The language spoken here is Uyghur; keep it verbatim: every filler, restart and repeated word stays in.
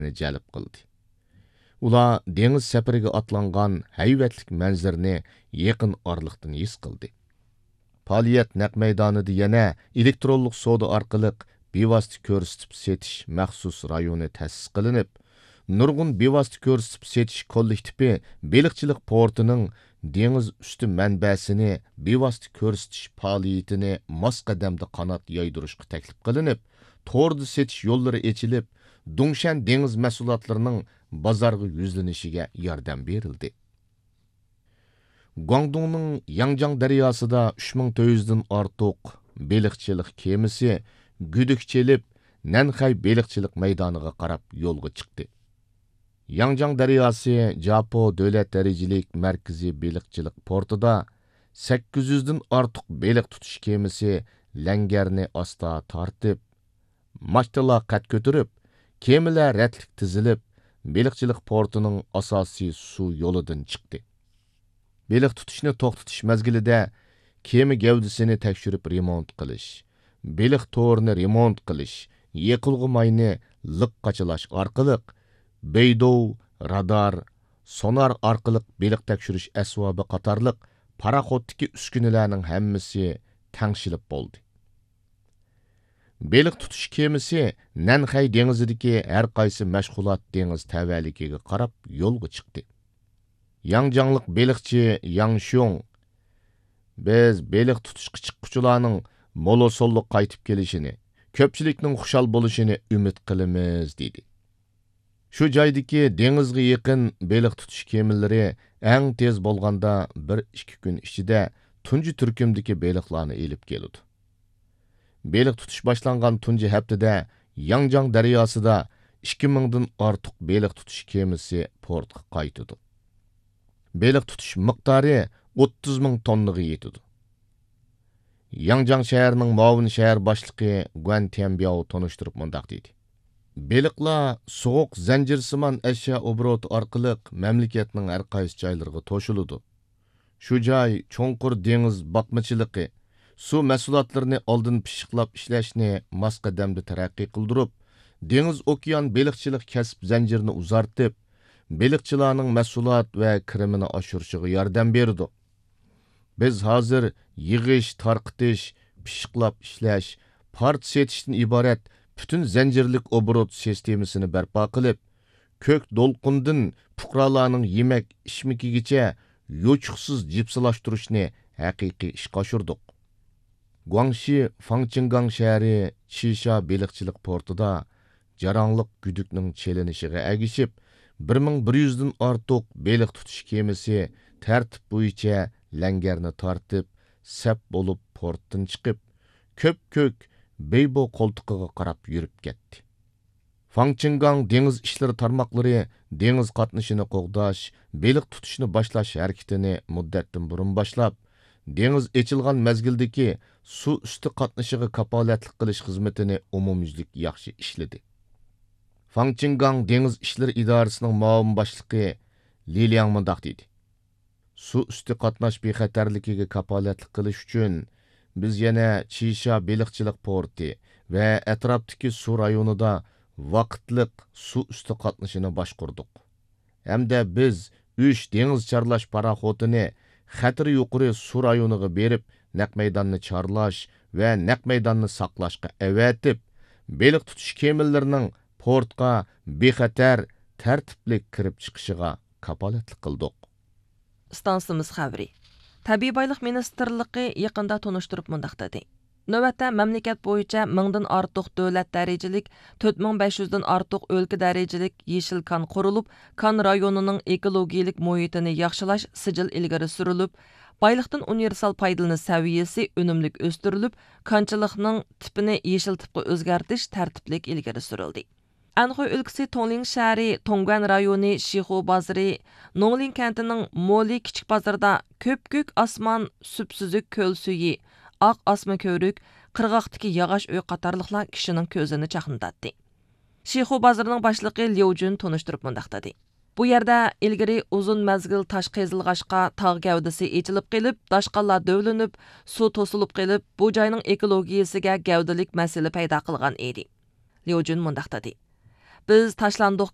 دىققىتىنى جەلپ قىلدى. ئۇلار دېڭىز سەپىرىگە ئاتلانغان ھەيۋەتلىك مەنزىرىنى يېقىن ئارىلىقتىن ھېس قىلدى. پائالىيەت نەق مەيدانىدا يەنە ئېلېكترونلۇق سودا ئارقىلىق بىۋاسىتە كۆرسىتىپ سېتىش مەخسۇس رايونى تەسىس قىلىنىپ، نۇرغۇن بىۋاسىتە كۆرسىتىپ سېتىش كوللېكتىپى بېلىقچىلىق پورتىنىڭ دېڭىز ئۈستى مەنبەسىنى بىۋاسىتە كۆرسىتىش پائالىيىتىنى ماس قەدەمدە قانات يايدۇرۇشقا تەكلىپ قىلىنىپ، توردا سېتىش يوللىرى ئېچىلىپ، دۇڭشەن دېڭىز مەھسۇلاتلىرىنىڭ بازارغا يۈزلىنىشىگە ياردەم بېرىلدى. گۇاڭدۇڭنىڭ ياڭجياڭ دەرياسىدا ئۈچ مىڭ تۆت يۈزدىن ئارتۇق بېلىقچىلىق كېمىسى گۈدۈك چېلىپ، نەنخەي بېلىقچىلىق مەيدانىغا قاراپ يولغا چىقتى. ياڭجياڭ دەرياسى جاپو دۆلەت دەرىجىلىك مەركىزىي بېلىقچىلىق پورتىدا سەككىز يۈزدىن ئارتۇق بېلىق تۇتۇش كېمىسى لەڭگەرنى ئاستا تارتىپ، ماچتىلار قەد كۆتۈرۈپ، كېمىلەر رەتلىك تىزىلىپ، بېلىقچىلىق پورتىنىڭ ئاساسىي سۇ يولىدىن چىقتى. بېلىق تۇتۇشنى توختىتىش مەزگىلىدە كېمە گەۋدىسىنى تەكشۈرۈپ رېمونت قىلىش، بېلىق تورىنى رېمونت قىلىش، يېقىلغۇ ماينى لىق قاچىلاش ئارقىلىق، بەيدوۋ، رادار، سونار ئارقىلىق بېلىق تەكشۈرۈش ئەسۋابى قاتارلىق پاراخوتتىكى ئۈسكۈنىلەرنىڭ ھەممىسى تەڭشىلىپ بولدى. بېلىق تۇتۇش كېمىسى نەنخەي دېڭىزىدىكى ھەر قايسى مەشغۇلات دېڭىز تەۋەلىكىگە قاراپ يولغا چىقتى. ياڭجياڭلىق بېلىقچى ياڭ شيۇڭ، «بىز بېلىق تۇتۇشقا چىققۇچىلارنىڭ مولىسونلۇق قايتىپ كېلىشىنى، كۆپچىلىكنىڭ خۇشال بولۇشىنى ئۈمىد قىلىمىز» دېدى. شۇ جايدىكى دېڭىزغا يېقىن بېلىق تۇتۇش كېمىلىرى ئەڭ تېز بولغاندا بىر ئىككى كۈن ئىچىدە تۇنجى تۈركۈمدىكى بېلىقلارنى ئېلىپ كېلىدۇ. بېلىق تۇتۇش باشلانغان تۇنجى ھەپتىدە ياڭجياڭ دەرياسىدا ئىككى مىڭدىن ئارتۇق بېلىق تۇتۇش كېمىسى پورتقا قايتىدۇ. بېلىق تۇتۇش مىقدارى ئوتتۇز مىڭ توننىغا يېتىدۇ. ياڭجياڭ شەھىرىنىڭ مۇئاۋىن شەھەر باشلىقى گۇەن تيەنبياۋ تونۇشتۇرۇپ مۇنداق دېدى: بېلىقلار سوغۇق زەنجىرسىمان ئەشيا ئوبوروتى ئارقىلىق مەملىكەتنىڭ ھەر قايسى جايلىرىغا توشۇلىدۇ. شۇ جاي چوڭقۇر دېڭىز باقمىچىلىقى، سۇ مەھسۇلاتلىرىنى ئالدىن پىششىقلاپ ئىشلەشنى ماس قەدەمدە تەرەققىي قىلدۇرۇپ، دېڭىز ئوكيان بېلىقچىلىق كەسىپ زەنجىرىنى ئۇزارتىپ، بېلىقچىلارنىڭ مەھسۇلات ۋە كىرىمىنى ئاشۇرۇشىغا ياردەم بېرىدۇ. بىز ھازىر يىغىش، تارقىتىش، پىششىقلاپ ئىشلەش، پارچە سېتىشتىن ئىبارەت پۈتۈن زەنجىرلىك ئوبوروت سىستېمىسىنى بەرپا قىلىپ، كۆك دولقۇندىن پۇقرالارنىڭ يېمەك ئىچمىكىگىچە يوچۇقسىز جىپسىلاشتۇرۇشنى ھەقىقىي ئىشقا ئاشۇردۇق. گۇاڭشى فاڭچىڭگاڭ شەھىرى چىشا بېلىقچىلىق پورتىدا جاراڭلىق گۈدۈكنىڭ چېلىنىشىغا ئەگىشىپ، بىر مىڭ بىر يۈزدىن ئارتۇق بېلىق تۇتۇش كېمىسى تەرتىپ بويىچە لەڭگەرنى تارتىپ، سەپ بولۇپ پورتتىن چىقىپ، كۆپكۆك بېيبو قولتۇقىغا قاراپ يۈرۈپ كەتتى. فاڭچىڭگاڭ دېڭىز ئىشلىرى تارماقلىرى دېڭىز قاتنىشىنى قوغداش، بېلىق تۇتۇشنى باشلاش ھەرىكىتىنى مۇددەتتىن بۇرۇن باشلاپ، دېڭىز ئېچىلغان مەزگىلدىكى سۇ ئۈستى قاتنىشىغا كاپالەتلىك قىلىش خىزمىتىنى ئومۇميۈزلۈك ياخشى ئىشلىدى. فاڭچىڭگاڭ دېڭىز ئىشلىرى ئىدارىسىنىڭ مۇئاۋىن باشلىقى لى لياڭ مۇنداق دېدى: سۇ ئۈستى قاتناش بىخەتەرلىكىگە كاپالەتلىك قىلىش ئۈچۈن، بىز يەنە چىشا بېلىقچىلىق پورتى ۋە ئەتراپتىكى سۇ رايونىدا ۋاقىتلىق سۇ ئۈستى قاتنىشىنى باشقۇردۇق. ھەمدە بىز ئۈچ دېڭىز چارلاش پاراخوتىنى خەتىرى يۇقىرى سۇ رايونىغا بېرىپ، نەق مەيداننى چارلاش ۋە نەق مەيداننى ساقلاشقا ئەۋەتىپ، بېلىق تۇتۇش كېمىلىرىنىڭ پورتقا بىخەتەر، تەرتىپلىك كىرىپ چىقىشىغا كاپالەتلىك قىلدۇق. ئىستانسىمىز خەۋىرى. تەبىئىي بايلىق مىنىستىرلىقى يېقىندا تونۇشتۇرۇپ مۇنداق دېدى: نۆۋەتتە مەملىكەت بويىچە مىڭدىن ئارتۇق دۆلەت دەرىجىلىك، تۆت مىڭ بەش يۈزدىن ئارتۇق ئۆلكە دەرىجىلىك يېشىل كان قۇرۇلۇپ، كان رايونىنىڭ ئېكولوگىيىلىك مۇھىتىنى ياخشىلاش سىجىل ئىلگىرى سۈرۈلۈپ، بايلىقتىن ئۇنىۋېرسال پايدىلىنىش سەۋىيەسى ئۈنۈملۈك ئۆستۈرۈلۈپ، كانچىلىقنىڭ تىپىنى يېشىل تىپقا ئۆزگەرتىش تەرتىپلىك ئىلگىرى سۈرۈلدى. ئەنخۇي ئۆلكىسى تۇڭلىڭ شەھىرى تۇڭگۇەن رايونى شىخۇ بازىرى نوڭلىڭ كەنتىنىڭ مولى كىچىك بازىرىدا كۆپكۆك ئاسمان، سۈپسۈزۈك كۆل سۈيى، ئاق ئاسما كۆۋرۈك قىرغاقتىكى ياغاچ ئۆي قاتارلىقلار كىشىنىڭ كۆزىنى چاقنىتاتتى. شىخۇ بازىرىنىڭ باشلىقى ليۇ جۈن تونۇشتۇرۇپ مۇنداق دېدى: بۇ يەردە ئىلگىرى ئۇزۇن مەزگىل تاش قېزىلغاچقا تاغ گەۋدىسى ئېچىلىپ قېلىپ، داشقاللار دۆۋىلىنىپ، سۇ توسۇلۇپ قېلىپ، بۇ جاينىڭ ئېكولوگىيىسىگە گەۋدىلىك مەسىلە پەيدا قىلغان ئىدى. ليۇ جۈن مۇنداق دېدى: بىز تاشلاندۇق